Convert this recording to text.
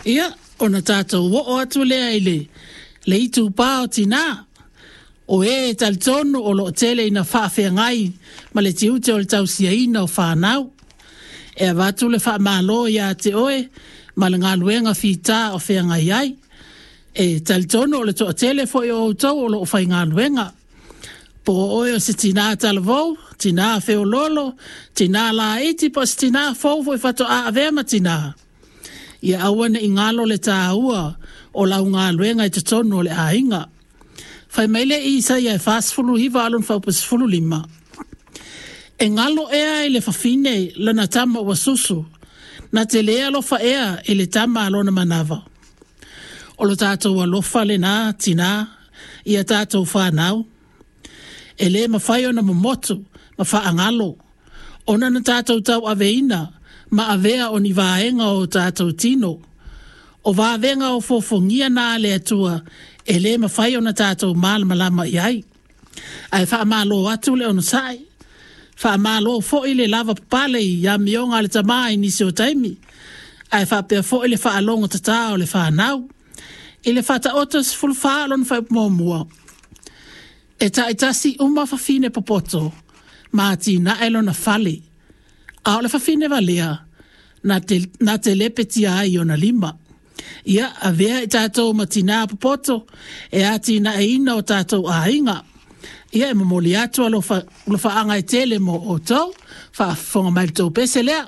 Ia, ona tatou oo atu lea i le, le itupa o tinā, o e talitonu o lo o tele ina faafeagai ma le tiute o le tausiaina o fanau. E avatu le faamalo ia te oe ma le galuega fita o feagai ai. E talitonu o le toatele foi o outou o lo o faigaluega. Po o oe o se tinā talavou, tinā feoloolo, tinā laiti po o se tinā fou foi faatoa avea ma tinā. Ia aua ne i galo le tāua o lau galuega i totonu o le aiga. Fai mai le Isaia e 49 a lona fuaiupu 15. E galo ea i le fafine lana tama ua susu, na te lē alofa ea i le tama a lona manava. O lo tatou alofa lenā tinā i a tatou fanau. E lē mafai ona momotu ma faagalo, ona na tatou tauaveina ma avea o ni vaega o tatou tino. O vavega ofoofogia na a le Atua e lē mafai ona tatou malamalama i ai. Ae faamalo atu le onosai, faamalo foi le lavapapale i amioga a le tamā i nisi o taimi, ae faapea foi le faalogotatā o le fanau. I le Faataoto 14 lona fuaiupu muamua, e taitasi uma fafine popoto ma atinae lona fale, a o le fafine valea na te, na te lepetia ai i ona lima. Ia, avea i tatou ma tinā popoto e atinaeina o tatou aiga. Ia, e momoli atu alofaaga e tele mo outou, faafofoga mai i le tou pese lea.